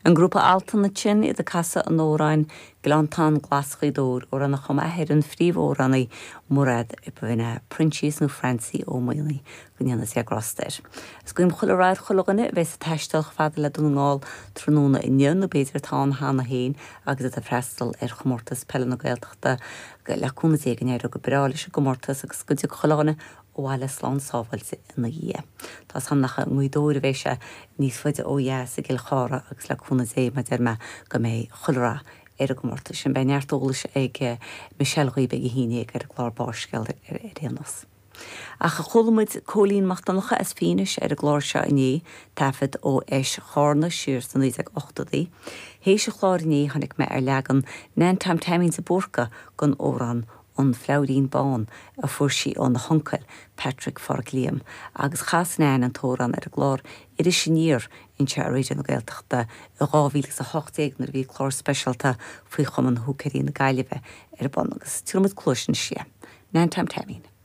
An grúpa Altan ansin, iad ag casadh an amhráin Gleanntán Glas Ghaoth Dobhair, amhrán a chum athair an phríomhamhránaí Mairéad, b'in é Proinsias nó Francie Ó Maonaigh, go ndéana Dia grásta air. Is guím chuile rath ar chuile dhuine a bheas ag taisteal chomh fada le Dún na nGall tráthnóna inniu, nó b'fhéidir atá ann cheana féin agus iad ag freastal ar Chomórtas Peile na Gaeltachta. Le cúnamh Dé go n-éireoidh go breá leis an gcomórtas agus go dtiocfaidh chuile dhuine abhaile slán sábháilte ina dhiaidh. Tá 's a'm nach i nGaoth Dobhair a bheidh sé, níos faide ó dheas i gCill Chartha agus le cúnamh Dé, mar a deir mé, go mbeidh chuile rath ar an gcomórtas sin. Beidh neart eolais ag Michelle dhaoibh ag a haon dhéag ar an gclár Barrscéal ar aon nós. Ach chuala muid Cóilín Mac Donncha as Fínis ar an gclár seo inné, taifead ó Fheis Chárna siar sna 1980idí. Théis an chláir inné tháinig mé ar leagan Nan Tom Taimín de Búrca den amhrán An Fleabhairín Bán a fuair sí óna huncail, Patrick Pháraic Liam, agus chas Nan an t-amhrán ar an gclár Iris Aniar anseo ar Raidió na Gaeltachta i 2018 nuair a bhí clár speisialta faoi Chumann Húicéirí na Gaillimhe ar bun agus tabharfaidh muid cluais anois di. Nan Tom Taimín.